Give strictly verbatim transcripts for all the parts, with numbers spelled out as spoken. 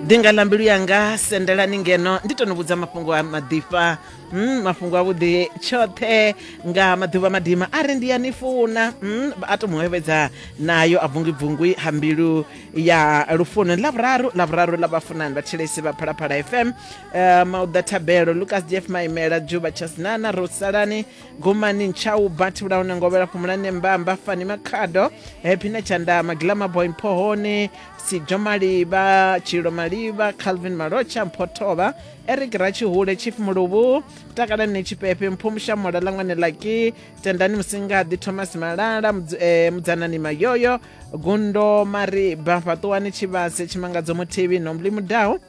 Ḓinga ḽa mbilu yanga sendelani ngeno ndi to ni vhudza mafhungo a maḓifha, mm, mafhungo avhuḓi tshoṱhe nga maḓuvha madima a ri ndi ya ni funa, mm, a to muhevhedza nayo a bvungwi-bvungwi ha mbilu ya lufuno. Ḽavhuraru ḽavhuraru ḽa vhafunani vhathetshelesi vha Phalaphala F M, uh, Mauḓa Thabelo, Lucas Jeff Maimela, Juba Chasnana, Rosalani Gumani, Nchau Bathi Vhulaune, Ngovhela Fhumulane, Mbamba Fani Makhado, Happy na Tshandama, Glamour Boy Mpohoni, Sijo Maliba, Tshilo Maliba, Calvin Malocha, Mphotovha, Eric Ratshihule, Chief Muluvhu, Takalani Tshipepe, Mphumusha Mola Langwane Laki, Tendani Musingaḓi, Thomas Malala, Mudz- eh, Mudzanani Mayoyo, Gundo Mariba, Fhaṱuwani Tshivhase, Tshimangadzo Muthivhi, Nombli Mudau,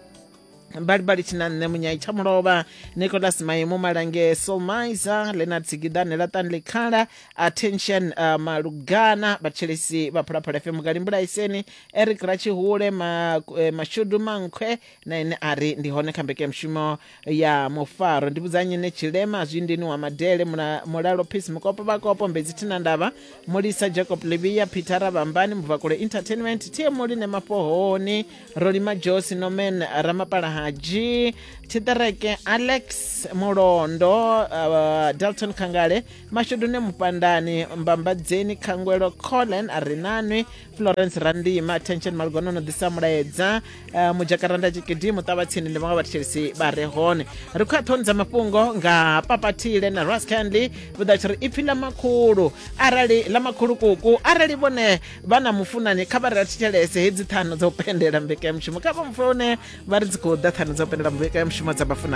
Balibali Tshinanne, Munyai Tshamulovha, Nicholas Maimu Malange, Solmaiza, Leonard Tsigidane, Latani Likhala, Attention uh, Malugana, vhathetshelesi vha Phalaphala F M, Galimbulaiseni, Eric Ratshihule, ma, eh, Mashudu Mankhwe na ene a ri ndi hone kha mbekanyamushumo ya mufaro. Ndi vhudza nyine Tshilema Zwindini wa Madele, Mula, Mulalo Peace Mukopo Vhakopo, Mbedzi Thina Ndavha, Mulisa Jacob Livia, Peter Rabambani, Mubvakule Entertainment, T M Muline Mapohoni, Rolima Josi, Nomen Ramapala Haji, Tshiṱereke Alex Mulondo, uh, Dalton Khangale, Mashudune Mupandani, Mbambadzeni Khangwelo, Colin Arinanwi, Florence Randima, Attention Malgono no ḓisa mulaedza, uh, Mudzhakaranda Tshikidi, Muṱavhatsini ndi vhaṅwe vhathetshelesi vha re hone. Ri khou ya ṱhoni dza mafhungo nga Papathile na Ras Candy, vhuḓa tshi ri ipfi ḽa makhulu, arali ḽa makhulu kuku, arali vhone vha na mufunani kha vha ri thetshelese hedzi ṱhanu dza u pendela mbekanyamushumo, kha vha mufune vha ri dzi khou ḓa ṱhanu dza u pendela mbekanyamushumo dza vhafunani.